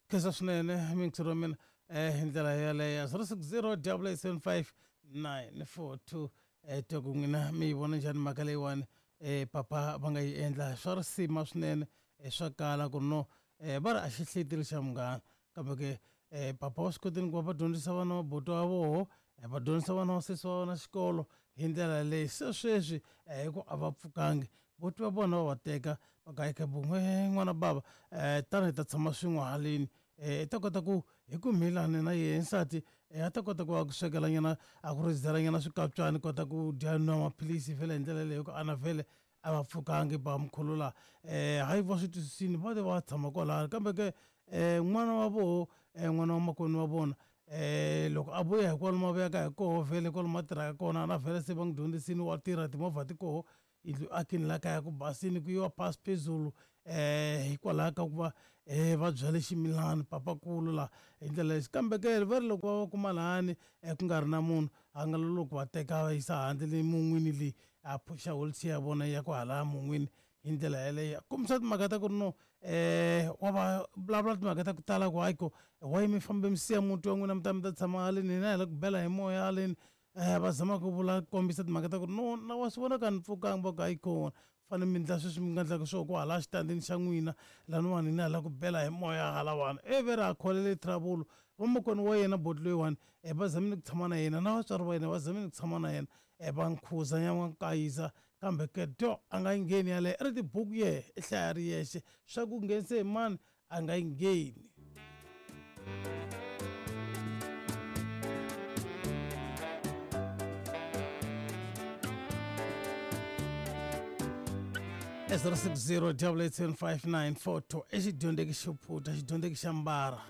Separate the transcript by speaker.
Speaker 1: Khensa swinene mingisero wa mina hi ndlela yeleyo 060 875 942 twa ku n'wina mi yi vona njhani mhaka leyiwani papa va nga yi endla swa risima swinene swa kala ku no va ri a xi hleteli xa munghana kambe ke papa wa swi kotini ku va va dyondzisa vana va buti wa voho va dyondzisa vana va sesi wa vona xikolo hi ndlela leyi se sweswi hi ku a va pfukangi buti va vona va va teka va ka eka bun'we n'wana bava tani hi ta tshama swin'we haleni i ta kota ku hi ku mhilani na yehe nsati a ta kota ku va ku swekela nyana a ku rizela nyana swikapyani kota ku dya nwa maphilisi vhele hi ndlela leyo ku ana vhele a va pfukangi ba mkhulu la hayi va swi twisisini va te va tshama kwalano kambe ke n'wana wa voho n'wana wa makwenu wa vona loko a vuya hi kwalomu a vuyaka hi koho vhele kwalomu a tirhaka kona na vhele se va n'wi dyondzisini wa tirha timovha ti koho yindlu akini la kaya ku basini ku yiwa phasi phezulu hikwalaho ka ku va va byale ximilani papakulu la hi ndlela lexi kambe ke va ri loko va va kuma lahani ku nga ri na munhu a nga loko va teka va yisa handle le mun'wini leyi a phuxa wheelchair ya vona ya ku hala mun'wini hi ndlela yeleyo kombisa timhaka ta ku ri no wa va vulavula timhaka ta ku tala ku hayi ko why mi fambe mi siya muti wa n'wina mi ta mi ta tshama haleni hina hi la ku bela hi moya haleni va zama ku vula kombisa timhaka ta ku ri no na wa swi vona ka ni pfukanga va ku hayi kona fanele mi ndla sweswi mi nga ndlaka swona ku hala xitandini xa n'wina laniwani hina hi la ku bela hi moya halawani ivi ra kholele trouble vamakwenu wa yena boti loyiwani va zamile ku tshama na yena na vatswari va yena va zamile ku tshama na yena va nkhuza ya va nkayiza kambe ke dyo a nga yi ngheni yaleyo i ri tibuku yehe i hlaya ri yexe swa ku nghenise hi mani a nga yi ngheni e 060 875 942 i xidyondzeki xo phuta xidyondzeki xa mbara.